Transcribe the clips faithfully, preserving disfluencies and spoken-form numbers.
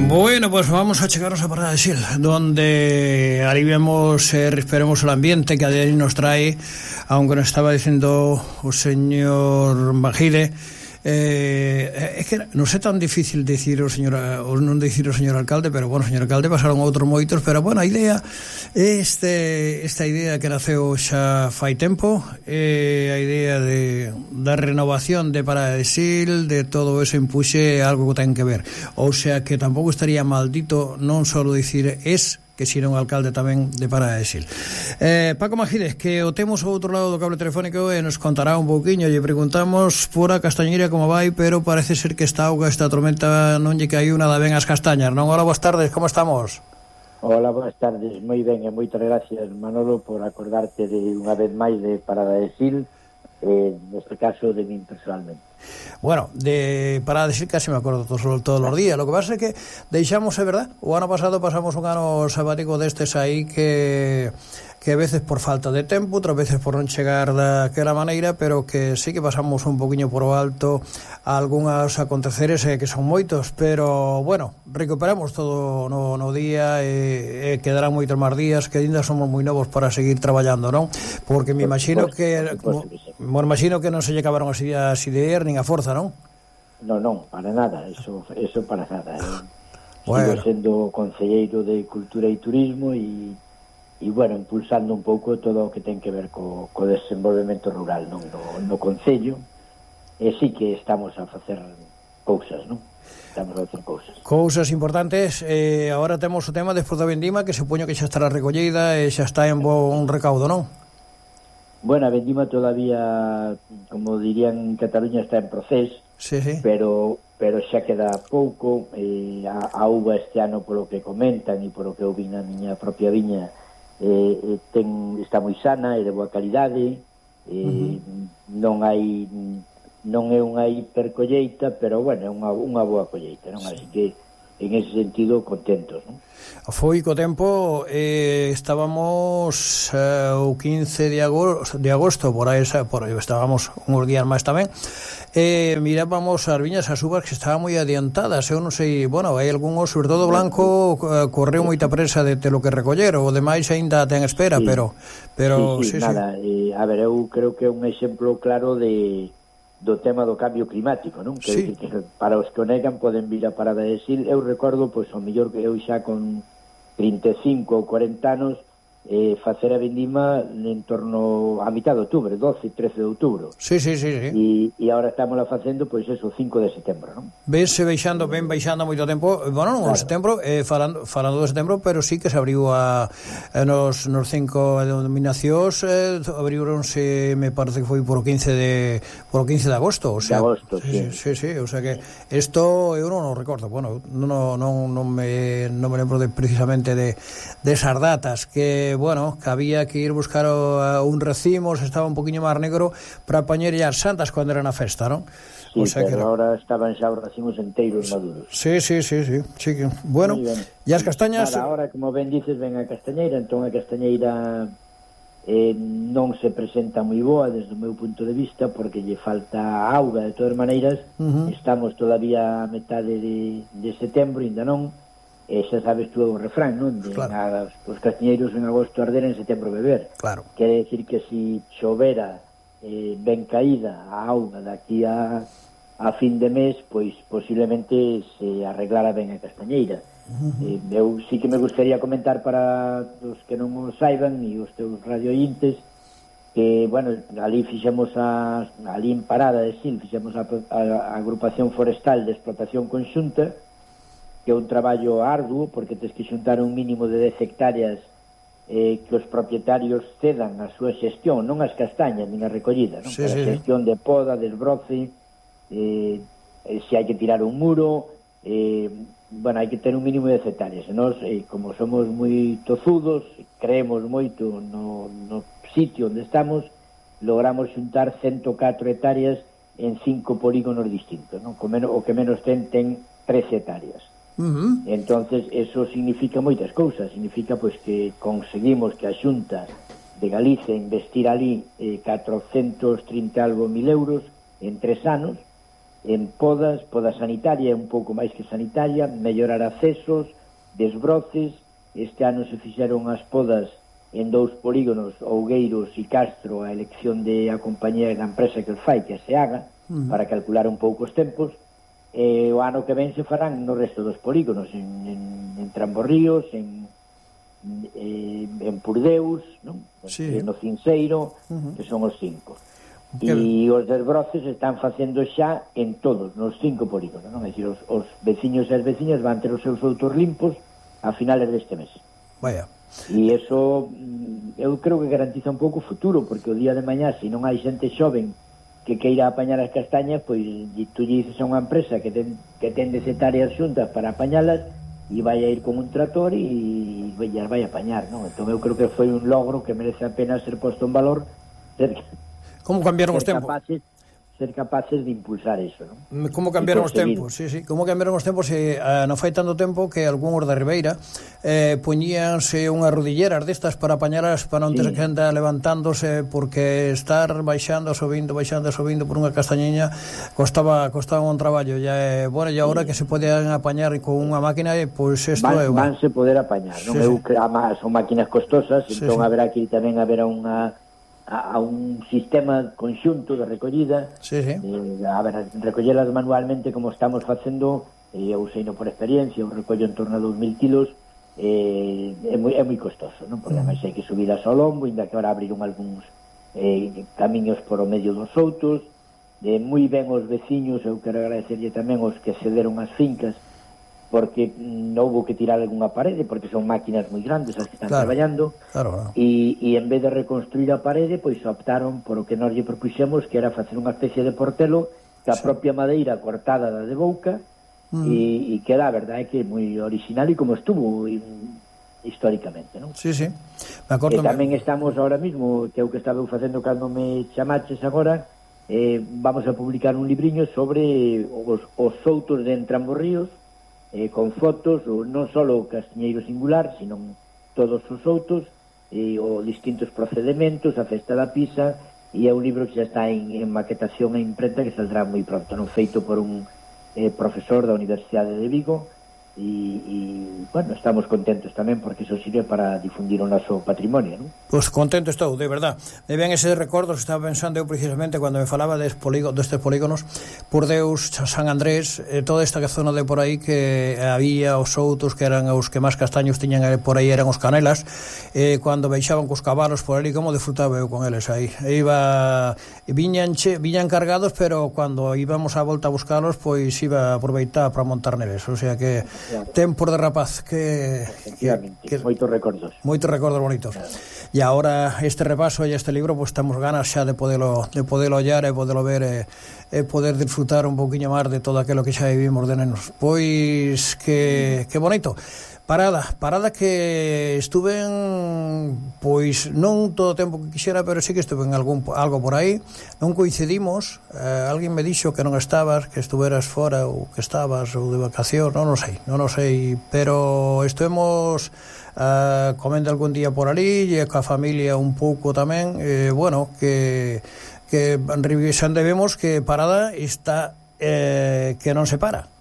Bueno, pues vamos a chegarnos a Parada de Sil, donde aliviamos, eh, esperemos el ambiente que a día nos trae, aunque nos estaba diciendo o señor Bajide, eh, é que non é tan difícil decir o señor, ou non decir o señor alcalde, pero bueno, señor alcalde, pasaron outros moitos, pero bueno, a idea este esta idea que naceu xa fai tempo, eh, a idea de da renovación de Parada de Sil, de todo eso impuxe algo que ten que ver, ou sea que tampouco estaría maldito non só dicir es que sino un alcalde tamén de Parada de Sil. Eh, Paco Majides, que o temos ao outro lado do cable telefónico e nos contará un pouquiño. Lle preguntamos por a Castañeira como vai, pero parece ser que esta auga, esta tormenta non lle caiu nada ben as castañas, non? Hola, boas tardes, como estamos? Hola, boas tardes, moi ben e moitas gracias, Manolo, por acordarte de unha vez máis de Parada de Sil, eh, neste caso de min personalmente. Bueno, de Parada de Sil casi me acordo todos, todos os días. Lo que pasa é que deixamos, é verdad, o ano pasado pasamos un ano sabático destes aí que que a veces por falta de tempo, outras veces por non chegar daquela maneira, pero que sí que pasamos un poquinho por o alto algúns aconteceres eh, que son moitos, pero bueno, recuperamos todo no, no día e, e quedarán moitos máis días, que ainda somos moi novos para seguir traballando, non? Porque me imagino que me imagino que non se lle acabaron as ideas ideas nin a forza, non? Non, non, para nada, eso, eso para nada. Eh. Bueno. Sigo sendo concelleiro de Cultura e Turismo e e, bueno, impulsando un pouco todo o que ten que ver co, co desenvolvemento rural, non? No, no Concello, e sí que estamos a facer cousas, non? Estamos a facer cousas. Cousas importantes. Eh, agora temos o tema despois da vendima, que supoño que xa estará recollida e xa está en bon recaudo, non? Bueno, a vendima todavía, como dirían en Cataluña, está en proceso, sí, sí. pero pero xa queda pouco. Eh, a, a uva este ano, polo que comentan e polo que eu vin na miña propia viña, eh, ten, está moi sana e de boa calidade, eh, uh-huh. non hai non é unha hipercolleita, pero bueno, é unha, unha boa colleita, non? Sí. Así que en ese sentido contentos, non? Foi co tempo, eh, estábamos eh, o quince de agosto, de agosto por aí, por aí estábamos uns días máis tamén, eh, mirábamos as viñas, as uvas que estaban moi adiantadas. Eu non sei, bueno, hai algúns, sobre todo Blanco, eh, correu moita presa de te lo que recoller, o demais aínda ten espera, sí. pero pero sí, sí, sí, nada, sí. Eh, a ver, eu creo que é un exemplo claro de do tema do cambio climático, non? Que, sí. que, que para os que o negan poden vir a Parada de Sil. Eu recordo, pois, o mellor que eu xa con trinta e cinco ou cuarenta anos eh, facer a vendima en torno a mitad de outubro, doce, trece de outubro. Sí, sí, sí, sí. E, e agora estamos facendo, pois, eso, cinco de setembro, non? Vense baixando, ben baixando moito tempo, bueno, non, claro. setembro, eh, falando, falando de setembro, pero sí que se abriu a, a nos, nos cinco denominacións, eh, abriuronse, me parece que foi por o quince de por o quince de agosto, o sea, de agosto, sí, sí, sí, sí, o sea que isto eu non o recordo, bueno, non, non, non me non me lembro de precisamente de, de esas datas, que bueno, que había que ir buscar o, a un racimo, se estaba un poquinho máis negro para poñer as santas cando era na festa, non? Sí, o sea pero que ahora estaban xa os racimos enteiros maduros. Sí, sí, sí, sí, sí. Bueno, e as castañas... Nada, ahora, como ben dices, ven a castañeira, entón a castañeira eh, non se presenta moi boa desde o meu punto de vista, porque lle falta auga. De todas maneiras, uh-huh. estamos todavía a metade de, de setembro, ainda non. E xa sabes tú o refrán, non? De, claro. a, os castiñeiros en agosto arder, en setembro beber. Claro. Quere decir que si chovera eh, ben caída a auga daqui a, a fin de mes, pois posiblemente se arreglara ben a castañeira. Uh-huh. eh, eu sí que me gustaría comentar para os que non o saiban e os teus radiointes que, bueno, ali fixemos a, ali en Parada de Sil fixemos a, a, a agrupación forestal de explotación conxunta, que é un traballo arduo, porque tens que xuntar un mínimo de dez hectáreas eh, que os propietarios cedan a súa xestión, non as castañas, nin a recollida, non? Sí, Para sí, a xestión de poda, desbroce, eh, eh, se hai que tirar un muro, eh, bueno, hai que ter un mínimo de dez hectáreas. E nós, eh, como somos moi tozudos, creemos moito no, no sitio onde estamos, logramos xuntar ciento catro hectáreas en cinco polígonos distintos, non? O, menos, o que menos ten, ten trece hectáreas. Uh-huh. Entonces eso significa moitas cousas. Significa pois que conseguimos que a Xunta de Galicia investir ali eh, catrocentos trinta algo mil euros en tres anos, en podas, poda sanitaria, un pouco máis que sanitaria, mellorar accesos, desbroces. Este ano se fixeron as podas en dous polígonos, Ougueiros e Castro, a elección de a compañía da empresa que o fai, que se haga, uh-huh. para calcular un pouco os tempos. E o ano que ven se farán no resto dos polígonos, en, en, en Tramborríos, en, en, en Purdeus, non? Sí. No Cinseiro, uh-huh. que son os cinco. E os desbroces están facendo xa en todos, nos cinco polígonos, non? É dicir, os, os veciños e as veciñas van ter os seus outros limpos a finales deste mes. Vaya. E iso eu creo que garantiza un pouco o futuro, porque o día de mañá, se non hai xente xoven que queira apañar as castañas, pois tú lle dices a unha empresa que ten, que ten de áreas xuntas para apañalas e vai a ir con un trator e as vai a apañar, non? Entón eu creo que foi un logro que merece a pena ser posto en valor, ser, como cambiaron os tempos? Capaces, ser capaces de impulsar eso, non? Como cambiaron os tempos, sí, sí, como cambiaron os tempos, e eh, non fai tanto tempo que algúns da Ribeira eh, poñíanse unhas rodilleras destas para apañalas, para non ter que andar levantándose, porque estar baixando, subindo, baixando, subindo por unha castañeña costaba costaba un traballo, e, bueno, e agora sí. que se poden apañar con unha máquina, pois pues isto van, é... Van se poder apañar, non? Sí, eu, sí. Además, son máquinas costosas, sí, entón sí. haberá que tamén haber unha a, a un sistema conxunto de recollida, sí, sí. Eh, a ver, recollelas manualmente como estamos facendo, eh, eu sei no por experiencia, eu recollo en torno a dous mil kilos, eh, é, moi, é moi costoso, non? Porque además hai que subilas ao lombo, ainda que ahora abriron algúns eh, camiños por o medio dos outros, eh, moi ben os veciños, eu quero agradecerlle tamén os que cederon as fincas, porque non houve que tirar algunha parede, porque son máquinas moi grandes as que están claro, traballando, claro, claro. E, e en vez de reconstruir a parede, pois optaron por o que nós lle propuxemos, que era facer unha especie de portelo que a sí. propia madeira cortada da de Bouca, mm. e, e que a verdade é que é moi original e como estuvo e, históricamente, non? Sí, sí. Me acordo. E tamén me... estamos ahora mismo, que é o que estaba facendo cando me chamaches agora, eh, vamos a publicar un libriño sobre os, os soutos de Entramborríos, eh, con fotos, ou non só o castiñeiro singular, sino todos os outros, e os distintos procedementos, a festa da pisa, e é un libro que xa está en, en maquetación e imprenta, que saldrá moi pronto, non feito por un eh, profesor da Universidade de Vigo, e, e, bueno, estamos contentos tamén porque iso sirve para difundir o noso patrimonio, non? Pois contento estou, de verdad. Me ven eses recordos, estaba pensando eu precisamente cando me falaba destes polígonos, destes polígonos, por Deus, San Andrés, eh, toda esta zona de por aí que había os outros que eran os que máis castaños tiñan por aí, eran os canelas, eh, cando baixaban cos cabalos por ali, como disfrutaba eu con eles aí. E iba, viñan, che, viñan cargados, pero cando íbamos a volta a buscalos, pois iba a aproveitar para montar neles, o sea que claro. Tempos de rapaz que, que, que moitos recordos moitos recordos bonitos claro. E agora este repaso e este libro, pues temos ganas xa de podelo de podelo ollar e podelo ver e, e poder disfrutar un pouquiño máis de todo aquilo que xa vivimos de nenos. Pois que, que bonito. Parada, parada que estuve en, pois non todo o tempo que quixera, pero sí que estuve en algún, algo por aí, non coincidimos, eh, alguén me dixo que non estabas, que estuveras fora ou que estabas ou de vacación, non o sei, non o sei, pero estuvemos eh, comendo algún día por ali e coa familia un pouco tamén, eh, bueno, que que revisando vemos que Parada está eh, que non se para.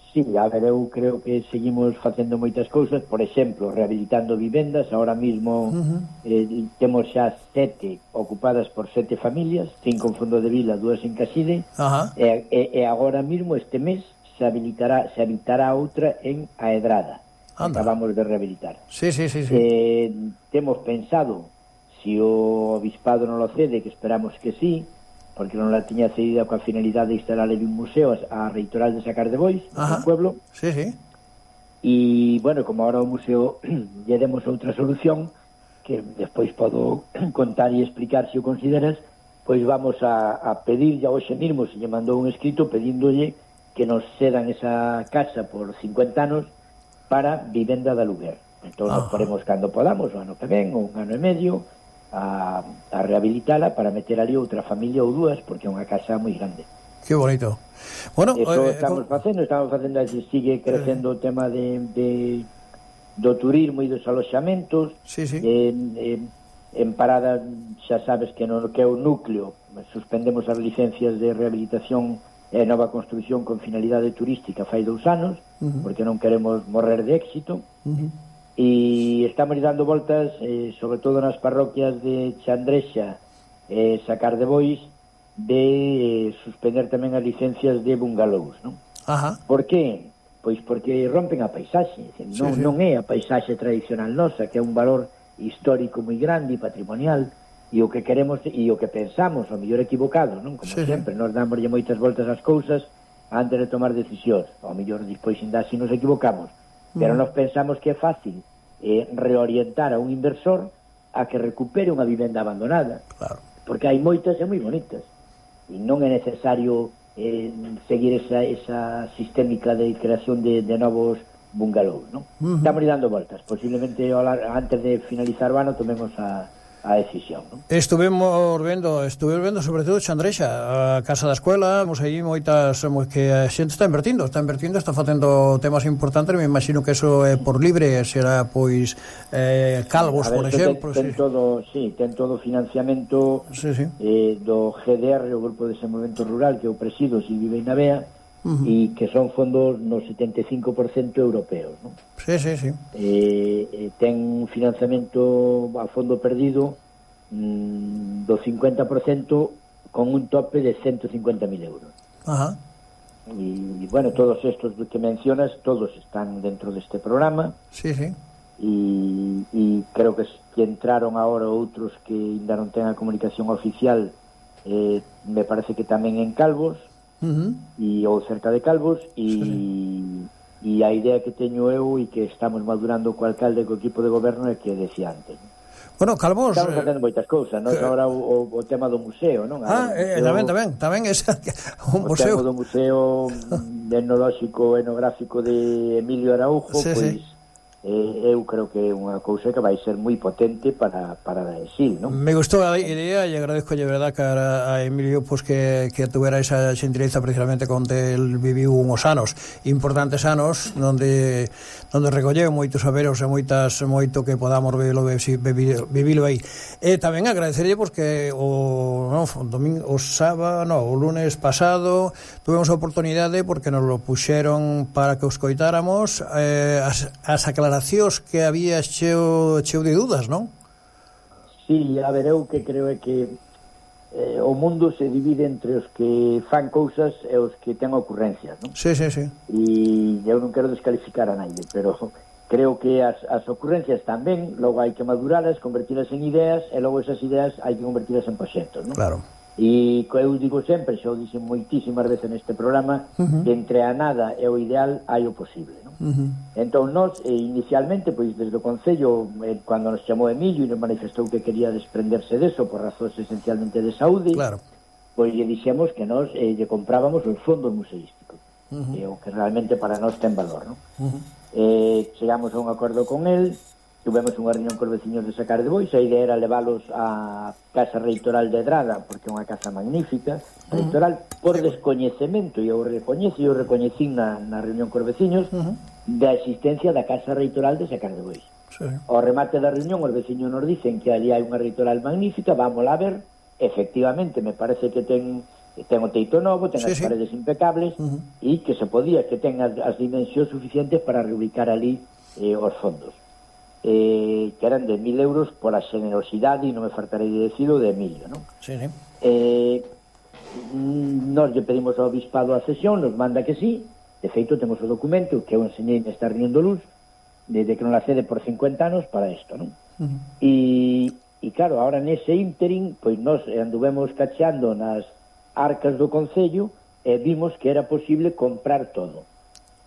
Sí, a ver, eu creo que seguimos facendo moitas cousas, por exemplo, rehabilitando vivendas, ahora mismo uh-huh. eh, temos xa sete ocupadas por sete familias, cinco en Fondo de Vila, dúas en Caside, uh-huh. e, e, e agora mismo este mes se habilitará se habilitará outra en Aedrada. Anda. Acabamos de rehabilitar. Sí, sí, sí, sí. Eh, temos pensado, se si o Obispado non lo cede, que esperamos que sí, porque non la tiña cedida coa finalidade de instalar un museo a Reitoral de Sacar de Bois, no pueblo. Sí, sí. E, bueno, como ahora o museo lle demos outra solución, que despois podo contar e explicar se o consideras, pois vamos a, a pedir, ya hoxe mismo se lle mandou un escrito pedíndolle que nos cedan esa casa por cincuenta anos para vivenda de aluguer. Entón, nos poremos cando podamos, o ano que ven, ou un ano e medio, A, a rehabilitala para meter ali outra familia ou dúas, porque é unha casa moi grande. Que bonito. Bueno, eso eh, estamos con... facendo, estamos facendo así, sigue crecendo eh... o tema de, de do turismo e dos aloxamentos. Sí, sí. En, en, en Parada xa sabes que no que é o núcleo, suspendemos as licencias de rehabilitación é nova construción con finalidade turística fai dous anos, uh-huh. porque non queremos morrer de éxito, uh-huh. e estamos dando voltas, eh, sobre todo nas parroquias de Chandrexa e eh, Sacar de Bois, de eh, suspender tamén as licencias de bungalows, non? Ajá. Por que? Pois porque rompen a paisaxe, non, sí, sí. non é a paisaxe tradicional nosa, que é un valor histórico moi grande e patrimonial, e o que queremos e o que pensamos, ao mellor equivocado, non? Como sí, sempre, sí. Nos damos moitas voltas ás cousas antes de tomar decisións, ao mellor despois ainda así nos equivocamos, mm. pero nós pensamos que é fácil eh, reorientar a un inversor a que recupere unha vivenda abandonada, claro. Porque hai moitas e moi bonitas, e non é necesario eh, seguir esa, esa sistémica de creación de, de novos bungalows, non? Uh-huh. Estamos dando voltas, posiblemente antes de finalizar o ano tomemos a a decisión, non? Estuvemos vendo, estuvemos vendo sobre todo Chandrexa, a Casa da Escuela, vamos aí moitas que a xente está invertindo, está invertindo, está facendo temas importantes, me imagino que eso é por libre, será pois eh, Calvos, ver, por exemplo. Ten, ten sí. todo, sí, ten todo financiamento sí, sí. Eh, do G D R, o Grupo de Desenvolvemento Rural, que eu presido, Silvio Beinabea, uh-huh. e que son fondos no setenta e cinco por cento europeos, non? Sí, sí, sí. Eh, eh, ten financiamento a fondo perdido mm, do cincuenta por cento con un tope de ciento cincuenta mil euros. Ajá. E, e, bueno, todos estos que mencionas, todos están dentro deste programa. Sí, sí. E, e creo que, que entraron agora outros que ainda non ten a comunicación oficial, eh, me parece que tamén en Calvos, uh-huh. e ou cerca de Calvos, e... Sí. E a idea que teño eu e que estamos madurando co alcalde e co equipo de goberno é que decía antes. Bueno, Calvos... Estamos facendo moitas cousas, non? Que... Agora o, o, o tema do museo, non? Ah, eh, tamén, tamén, tamén é un museo. O tema do museo etnolóxico, etnográfico de Emilio Araujo, sí, pois... Sí. Eh, eu creo que é unha cousa que vai ser moi potente para, para Sil, non? Me gustou a idea e agradezco de verdad que a, a Emilio pues, que, que tuvera esa xentileza precisamente onde el viviu uns anos importantes anos onde, onde recolleu moitos saberos e moitas, moito que podamos vivilo, vivilo aí. E tamén agradecerlle porque o, no, o domingo, o sábado, no, o lunes pasado tuvemos a oportunidade porque nos lo puxeron para que os coitáramos eh, as, as aclaracións que había cheo, cheo de dudas, non? Sí, a ver, eu que creo é que eh, o mundo se divide entre os que fan cousas e os que ten ocurrencias, non? Sí, sí, sí. E eu non quero descalificar a nadie, pero creo que as, as ocurrencias tamén, logo hai que maduralas, convertilas en ideas, e logo esas ideas hai que convertilas en proxectos, non? Claro. E eu digo sempre, xa o dixen moitísimas veces neste programa, uh-huh. que entre a nada e o ideal hai o posible, non? Uh-huh. Entón, nós, eh, inicialmente, pois, desde o Concello, eh, cando nos chamou Emilio e nos manifestou que quería desprenderse deso por razóns esencialmente de saúde, claro. Pois lle dixemos que nós eh, lle comprábamos os fondos museísticos, uh-huh. eh, o que realmente para nós ten valor, non? Uh-huh. Eh, chegamos a un acordo con el, tuvemos unha reunión cos veciños de Sacar de Bois, a idea era leválos á Casa Reitoral de Drada, porque é unha casa magnífica, reitoral, uh-huh. por descoñecemento, e eu recoñezo, e eu recoñecín na, na reunión cos veciños, uh-huh. da existencia da Casa Reitoral de Sacar de Bois. Sí. Ao remate da reunión, os veciños nos dicen que ali hai unha reitoral magnífica, vámola a ver, efectivamente, me parece que ten ten o teito novo, ten sí, as sí. paredes impecables, uh-huh. e que se podía, que ten as, as dimensións suficientes para reubicar ali eh, os fondos. Eh, que eran de mil euros por a generosidade, e non me faltarei de decirlo, de Emilio, non? Sí, sí. Eh, nos lle pedimos ao obispado a cesión, nos manda que sí, de feito temos o documento que eu enseñei nesta reunión do Luz, desde que non la cede por cincuenta anos para isto, non? Uh-huh. E, e claro, ahora nese ínterin, pois nos anduvemos cacheando nas arcas do Concello e vimos que era posible comprar todo.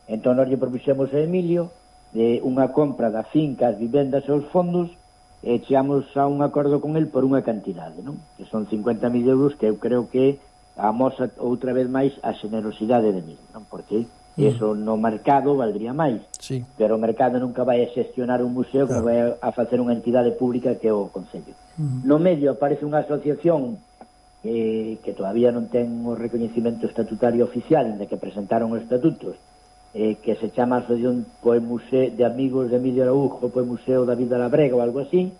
Entón nos lle propuxemos a Emilio de unha compra da finca, as vivendas e os fondos, e chegamos a un acordo con el por unha cantidade, non? Que son cincuenta mil euros, que eu creo que amosa outra vez máis a generosidade de mil, non? Porque eso no mercado valdría máis, sí. Pero o mercado nunca vai a xestionar un museo, claro. Como vai a facer unha entidade pública que é o Concello. Uh-huh. No medio aparece unha asociación eh, que todavía non ten o recoñecimento estatutario oficial, de que presentaron os estatutos, eh, que se chama Asociación Poe Museo de Amigos de Emilio Araujo, Poe Museo David de la Brega ou algo así,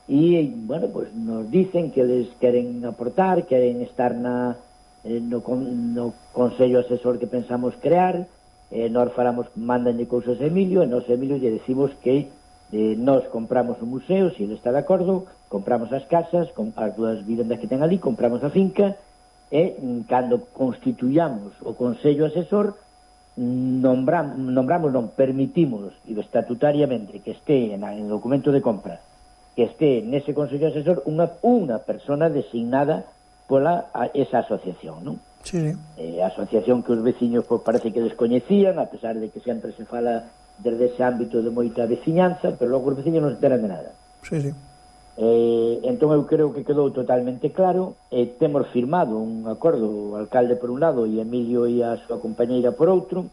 e, bueno, pues nos dicen que les queren aportar, queren estar na, eh, no, no Consello Asesor que pensamos crear, eh, nós faramos, mandanlle cousas a Emilio, e nós Emilio lle decimos que eh, nós compramos o museo, se ele está de acordo, compramos as casas, com, as dúas vivendas que ten ali, compramos a finca, e cando constituyamos o Consello Asesor, nombramos, nombramos non, permitimos estatutariamente que este en el documento de compra, que este nese Consello Asesor unha, unha persona designada pola a, esa asociación, non? Sí, sí. Eh, asociación que os veciños pues, parece que descoñecían, a pesar de que sempre se fala desde ese ámbito de moita veciñanza, pero logo os veciños non se enteran de nada. Sí, sí. Eh, entón eu creo que quedou totalmente claro. Eh, temos firmado un acordo, o alcalde por un lado e Emilio e a súa compañeira por outro,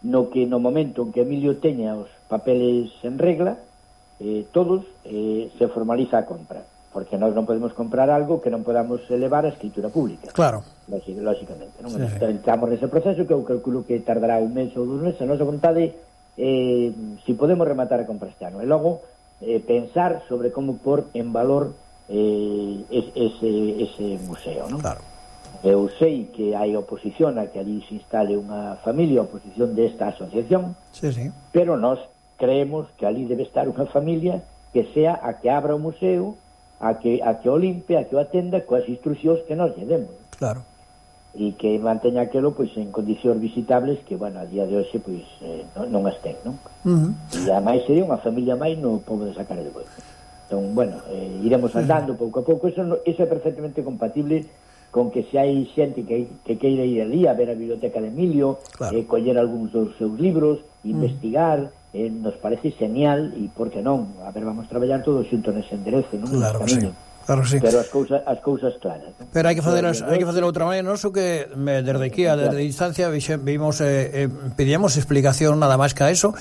no que no momento en que Emilio teña os papeles en regla, eh, todos, eh, se formaliza a compra, porque nós non podemos comprar algo que non podamos elevar a escritura pública. Claro. Lógicamente, non? Sí, sí. Estamos nese proceso que eu calculo que tardará un mes ou dous meses. A nosa vontade eh, si podemos rematar a compra este ano, e logo eh, pensar sobre como pôr en valor eh, ese, ese museo, non? Claro. Eu sei que hai oposición a que ali se instale unha familia, oposición desta asociación, Sí, sí. pero nós creemos que ali debe estar unha familia que sea a que abra o museo, a que, a que o limpe, a que o atenda coas instruccións que nós lle demos. Claro. E que manteña aquelo pois en condicións visitables que, bueno, a día de hoxe pois eh, non, non as ten, non? Uh -huh. E ademais sería unha familia máis no pobo de sacar de Boiro. Entón, bueno, eh, iremos andando pouco a pouco. Eso, no, eso é perfectamente compatible con que se hai xente que, que queira ir ali a ver a biblioteca de Emilio, claro. eh, coller algúns dos seus libros, investigar, uh -huh. eh, nos parece genial, e por que non? A ver, vamos traballar todos xuntos nese enderezo, non? Claro que sí. Claro, sí. Pero as cousas as cousas claras, ¿no? Pero hai que facer hai que facer outra maneira, non so que me, desde aquí a desde distancia vimos eh, eh, pedíamos explicación nada máis que a eso.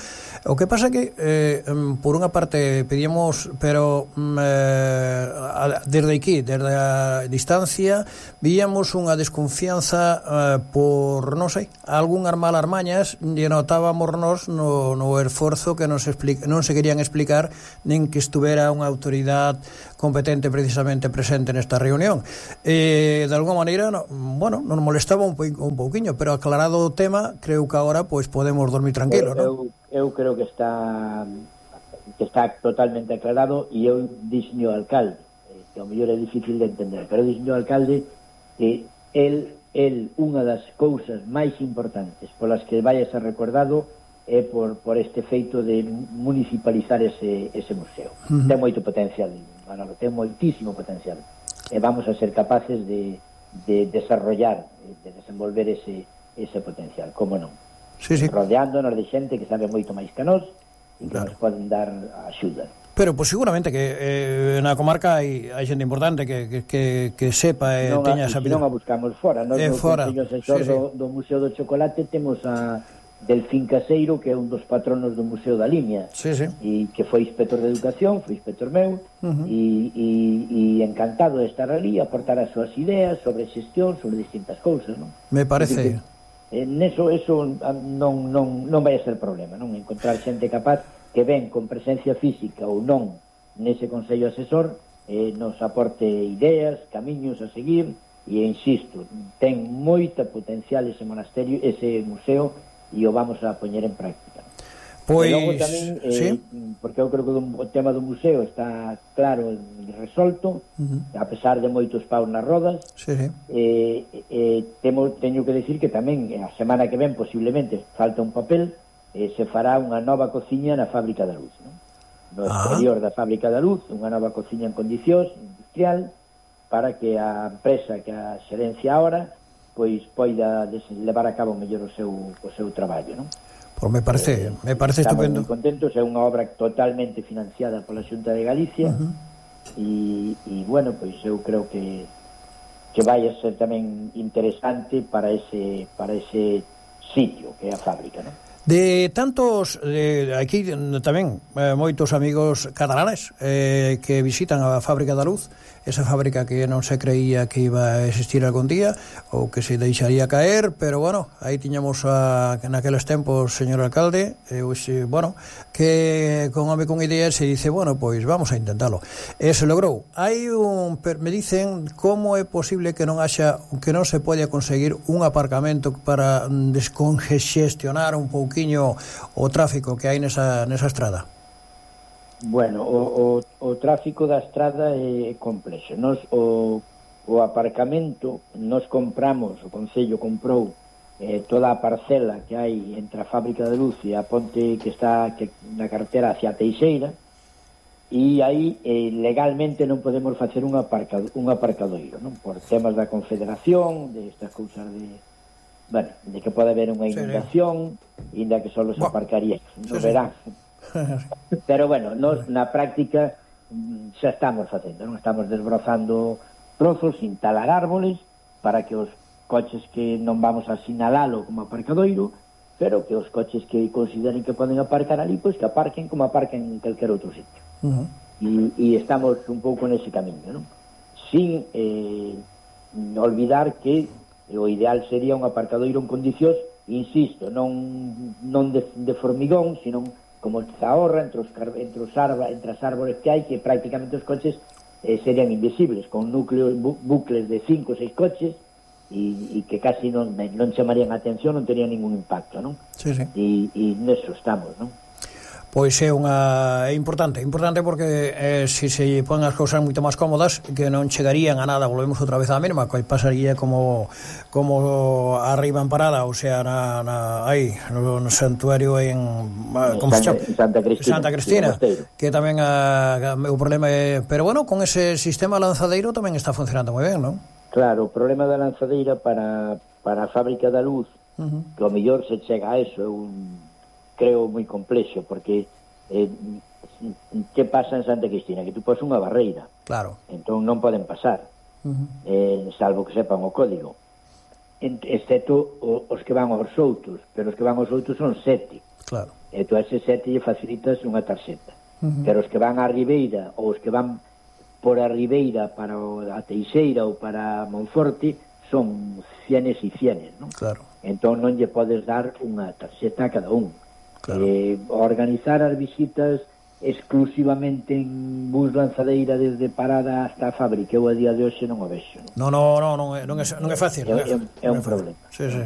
O que pasa que eh, por unha parte pedíamos, pero eh, a, desde aquí, desde a distancia víamos unha desconfianza eh, por, non sei, algunhas malas mañas, e notábamos nos no, no esforzo que nos explica, non se querían explicar nin que estuvera unha autoridade competente precisamente presente nesta reunión. Eh, de alguma maneira, no, bueno, nos molestaba un, un pouquiño, pero aclarado o tema, creo que agora pues podemos dormir tranquilos, eu, non? Eu creo que está que está totalmente aclarado, e eu dixo ao alcalde, eh, que ao mellor é difícil de entender, pero dixo ao alcalde que el, el unha das cousas máis importantes polas que vai a ser recordado é por, por este feito de municipalizar ese, ese museo. Uh -huh. Ten moito potencial, Manolo, ten moitísimo potencial. E vamos a ser capaces de, de desarrollar, de desenvolver ese, ese potencial, como non? Sí, sí. Rodeándonos de xente que sabe moito máis que nós e que claro. Nos poden dar axuda. Pero, pues seguramente que eh, na comarca hai, hai xente importante que, que, que, que sepa e eh, teña esa vida. Non a buscamos fora. Nós no Consello Asesor sí, sí. do, do Museo do Chocolate temos a Delfín Caseiro, que é un dos patronos do Museo da Limia, sí, sí. e que foi inspector de educación, foi inspector meu, uh -huh. e, e, e encantado de estar ali, aportar as súas ideas sobre xestión, sobre distintas cousas, non? Me parece. Que, en eso, eso non, non, non vai a ser problema, non? Encontrar xente capaz que ven con presencia física ou non nese Consello Asesor, eh, nos aporte ideas, camiños a seguir, e insisto, ten moita potencial ese monasterio, ese museo, e o vamos a poñer en práctica. Pois, e logo tamén, eh, ¿sí? Porque eu creo que o tema do museo está claro e resolto, uh -huh. a pesar de moitos paus nas rodas. Sí, sí. Eh, eh, temo, teño que decir que tamén a semana que ven posiblemente falta un papel, eh, se fará unha nova cociña na Fábrica da Luz, non? No ah. exterior da Fábrica da Luz, unha nova cociña en condicións industrial, para que a empresa, que a xerencia ahora, pois poida levar a cabo mellor o seu o seu traballo, non? Pois me parece, eh, me parece estamos estupendo. Estamos moi contentos, é unha obra totalmente financiada pola Xunta de Galicia, uh -huh. e, e bueno, pois eu creo que que vai a ser tamén interesante para ese para ese sitio que é a fábrica, non? De tantos, de, aquí tamén eh, moitos amigos catalanes eh, que visitan a Fábrica da Luz, esa fábrica que non se creía que iba a existir algún día ou que se deixaría caer, pero bueno, aí tiñamos a, naqueles tempos, señor alcalde, eh, oxe, bueno, que con home con ideas se dice, bueno, pois vamos a intentalo. E se logrou. Hai un, me dicen como é posible que non haxa, que non se poida conseguir un aparcamento para descongestionar un pouquiño o tráfico que hai nesa, nesa estrada. Bueno, o, o, o tráfico da estrada é complexo. Nos, o, o aparcamento, nos compramos, o Concello comprou eh, toda a parcela que hai entre a Fábrica de Luz e a ponte que está que, na carretera hacia Teixeira, e aí eh, legalmente non podemos facer un, aparcado, un aparcadoiro, non? Por temas da Confederación, de estas cousas de... Bueno, de que pode haber unha inundación, sí, inda que só los aparcaría no sí, verán. Sí. Pero bueno, nos na práctica xa estamos facendo, non? Estamos desbrozando trozos, instalar árboles para que os coches que non vamos a sinalalo como aparcadoiro, pero que os coches que consideren que poden aparcar ali, pois que aparquen como aparquen en calquer outro sitio. Uh-huh. e, e estamos un pouco nese camiño, non? Sin eh, olvidar que o ideal sería un aparcadoiro en condicións, insisto, non non de, de formigón, sino como se ahorra entre os, entre, os arba, entre as árboles que hai, que prácticamente os coches eh, serían invisibles, con núcleos, bu, bucles de cinco ou seis coches, e, e que casi non, non chamarían a atención, non terían ningún impacto, non? Sí, sí. E, e neso estamos, non? Pois é unha é importante, importante porque eh, se se ponen as cousas moito máis cómodas, que non chegarían a nada, volvemos outra vez á mesma, que pasaría como como arriba en Parada, ou sea, na, na aí, no, no santuario en como Santa, se chama? Santa Cristina, Santa Cristina, que tamén a, a, o problema é, pero bueno, con ese sistema lanzadeiro tamén está funcionando moi ben, non? Claro, o problema da lanzadeira para, para a Fábrica da Luz, uh-huh, que o mellor se chega a eso, é un creo moi complexo, porque eh, que pasa en Santa Cristina? Que tú pos unha barreira, claro, entón non poden pasar, uh-huh, eh, salvo que sepan o código, exceto o, os que van aos outros, pero os que van aos outros son sete, claro, e tú a ese sete lle facilitas unha tarxeta, uh-huh, pero os que van á Ribeira ou os que van por a Ribeira para a Teixeira ou para Monforte son cienes e cienes, non? Claro. Entón non lle podes dar unha tarxeta a cada un. Claro. Eh, organizar as visitas exclusivamente en bus lanzadeira desde Parada hasta a Fábrica, eu a día de hoxe non o vexo, non, non, non, non, é, non, é, non é fácil, é, non é, é, é un problema. Sí, sí.